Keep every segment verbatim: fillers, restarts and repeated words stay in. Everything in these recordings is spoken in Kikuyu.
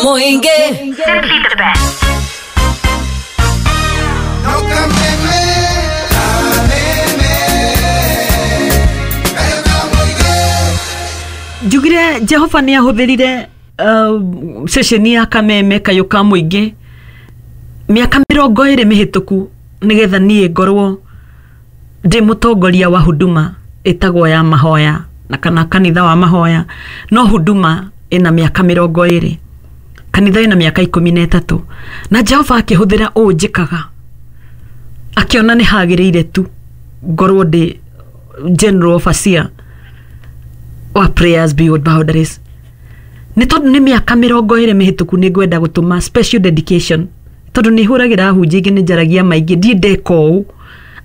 Mũingĩ. Simply the best. No Kameme, Kameme, Kayo ka mũingĩ. Njugire Jehova nĩ ahũthĩrire uh, ceceni ya Kameme Kayũ ka Mũingĩ mĩaka mĩrongo ĩrĩ mĩhĩtũku nĩgetha niĩ ngorwo ndĩ mũtongoria wa huduma ĩtagwo ya mahoya na kana kanitha wa mahoya. No huduma ĩna mĩaka mĩrongo ĩrĩ, kanitha ĩna mĩaka ikũmi na ĩtatũ, na Jehova akĩhũthĩra ũũ njĩkaga akĩona nĩ hagĩrĩire tu ngorwo ndĩ general overseer wa Prayers Beyond Boundaries. Nĩ tondũ nĩ mĩaka mĩrongo ĩrĩ mĩhĩtũku, nĩ ngwenda gũtũma special dedication, tondũ nĩ hũragĩra ahunjia ingĩ, nĩ njaragia maingĩ, ndiĩ ndeka ũũ,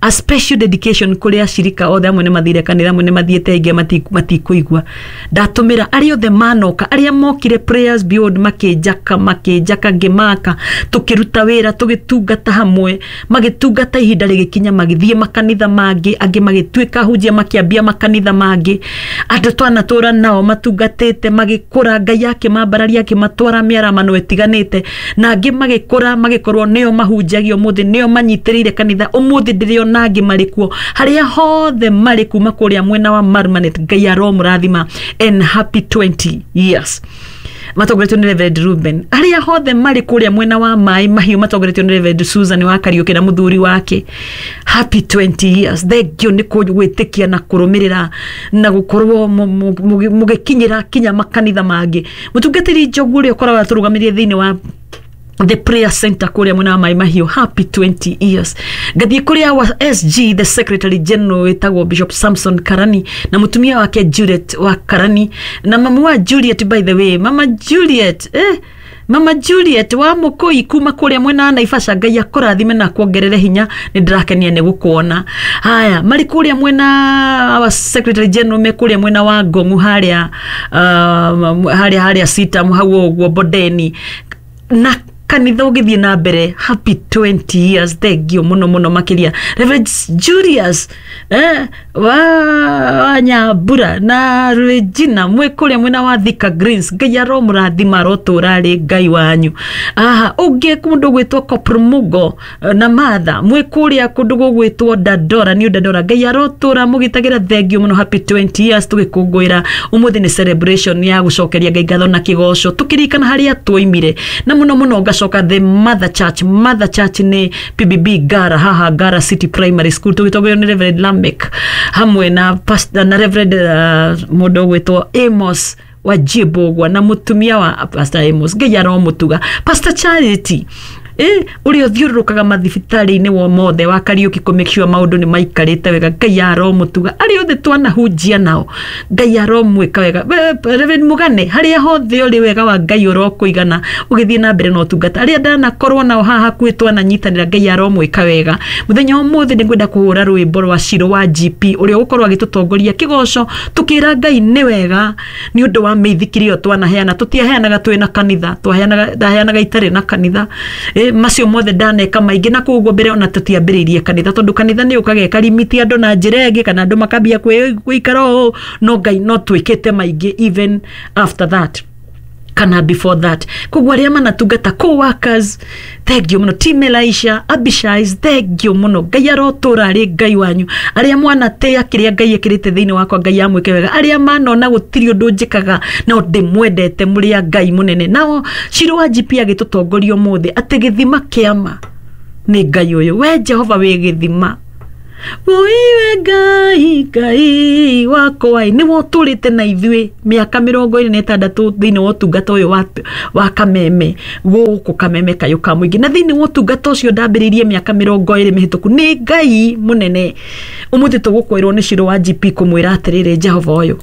a special dedication kũrĩ acirika othe. Amwe nĩ mathire kanitha, amwe nĩ mathiĩte, aingĩ mati- matikũigua. Ndatũmĩra arĩa othe manoka, arĩa mokire Prayers Beyond, makĩnjaka makĩnjaka ngĩmaka, tũkĩruta wĩra, tũgĩtungata hamwe, magĩtungata, ihinda rĩgĩkinya magĩthiĩ makanitha mangĩ, angĩ magĩtuĩka ahunjia, makĩambia makanitha mangĩ. Andũ twanatũra nao matungatĩte magĩkũra, Ngai akĩmambararia, akĩmatwara mĩaramano ĩtiganĩte, na angĩ magĩkũra, magĩkorwo nĩo mahunjagia ũmũthĩ, nĩo manyitĩrĩire kanitha ũmũthĩ. Ndĩrĩona angĩ marĩ kuo harĩa hothe marĩ, kuma kũrĩa mwena wa Marmanet. Ngai aromũrathima and happy twenty years. Matongoretio nĩ Reverend Ruben. Arĩa hothe marĩ kũrĩa mwena wa Maĩ Mahiũ, matongoretio nĩ Reverend Susan wa Kariũki na mũthuri wake, happy twenty years. Thank you nĩ gwĩtĩkia na kũrũmĩrĩra na gũkorwo mũgĩkinyĩra kinya makanitha mangĩ. Mũtungatĩri Njogu ũrĩa ũkoragwo atũrũgamĩrĩire thĩinĩ wa the prayer center kũrĩa mwena wa Maĩ Mahiũ, happy twenty years. Ngathiĩ kũrĩa wa S G, the secretary general wĩtagwo Bishop Samson Karani na mũtumia wake Juliet wa Karani na mamu wa Juliet. By the way, Mama Juliet, eh, Mama Juliet wa Mũkũi kuma kũrĩa mwena wa Naivasha, Ngai akũrathime na kuongerere hinya, nĩ ndĩrakenia nĩ gũkuona. Haya, marĩ kũrĩa mwena wa secretary general, me kũrĩa mwena wa Ngong'u harĩa uh, harĩa harĩa Sitam hau ũguo Bondeni, na kanitha ũgĩthiĩ na mbere. Happy twenty years, thank you mũno mũno makĩria. Reverend Julius eh, wa, wa Nyambura na Regina mwĩ kũrĩa mwena wa Thika Greens, Ngai aromũrathima, arotũra arĩ Ngai wanyu. Aha, ũngĩ kũndũ gwĩtwo Koprumugo eh, na Martha mwĩ kũrĩa kũndũ gũgwĩtwo Dandora, New Dandora, Ngai arotũra mũgitagĩra. Thank you mũno, happy twenty years. Tũgĩkũngũĩra ũmũthĩ nĩ celebration ya gũcokeria Ngai ngatho na kĩgoco, tũkĩririkana harĩa twoimire. Na mũno mũno ngacoka the mother church. Mother church nĩ P B B Ngara, haha Ngara City Primary School, tũgĩtongorio nĩ Reverend Lamek hamwe na pastor, na Reverend uh, mũndũ ũgwĩtwo Amos Wajibogwa na mũtumia wa Pastor Amos. Ngai aromũtuga. Pastor Charity eh ũrĩa ũthiũrũrũkaga mathibitarĩ-inĩ wo mothe wa Kariũki kũ make sure maũndũ nĩ maikarĩte wega, Ngai aromũtuga. Arĩa othe twanahunjia nao, Ngai aromwĩka wega. Be- Reverend Mũgane, harĩa hothe ũrĩ, wega wa Ngai ũrokũigana ũgĩthiĩ na mbere na ũtungata. Arĩa ndanakorwo nao haha hakuhĩ twananyitanĩra, Ngai aromwĩka wega. Mũthenya wa ũmũthĩ nĩ ngwenda kũhũra rwĩmbo rwa Ciro wa G P ũrĩa ũgũkorwo agĩtũtongoria kĩgoco, tũkĩra Ngai nĩ wega nĩ ũndũ wa mĩithikiri ĩyo twanaheana. Tũtiaheanaga twĩ na kanitha, twaheanaga, ndaheanaga itarĩ na kanitha. E, macio mothe ndaneka maingĩ na kũu ũguo mbere ona tũtiambĩrĩirie kanitha, tondũ kanitha nĩ ũkaga ĩkarimiti andũ na njĩra ĩngĩ, kana andũ makambia kwĩ- gũikara ũũ. No Ngai no twĩkĩte maingĩ even after that kana before that. Koguo arĩa manatungata, co-workers, thank you mũno. Team Elisha, Abishais, thank you mũno. Ngai arotũra arĩ Ngai wanyu. Arĩa mwanatĩa kĩrĩa Ngai ekĩrĩte thĩinĩ wakwa, Ngai amwĩke wega. Arĩa manona gũtirĩ ũndũ njĩkaga no ndĩmwendete, mũrĩ a Ngai mũnene. Nao Ciro wa G P agĩtũtongoria ũmũthĩ atĩ gĩthima kĩama nĩ Ngai ũyũ. We Jehova wĩ gĩthima, ũiwe Ngai, Ngai wakwa ĩ, nĩwe ũtũrĩte na ithuĩ mĩaka mĩrongo ĩrĩ na ĩtandatũ thĩinĩ wa ũtungata ũyũ wa, wa Kameme, gũkũ Kameme Kayũ ka Mũingĩ, na thĩinĩ wa ũtungata ũcio ndambĩrĩirie mĩaka mĩrongo ĩrĩ mĩhĩtũku nĩ Ngai mũnene. Ũmũthĩ tũgũkwĩrwo nĩ Ciro wa G P kũmwĩra atĩrĩrĩ, Jehova ũyũ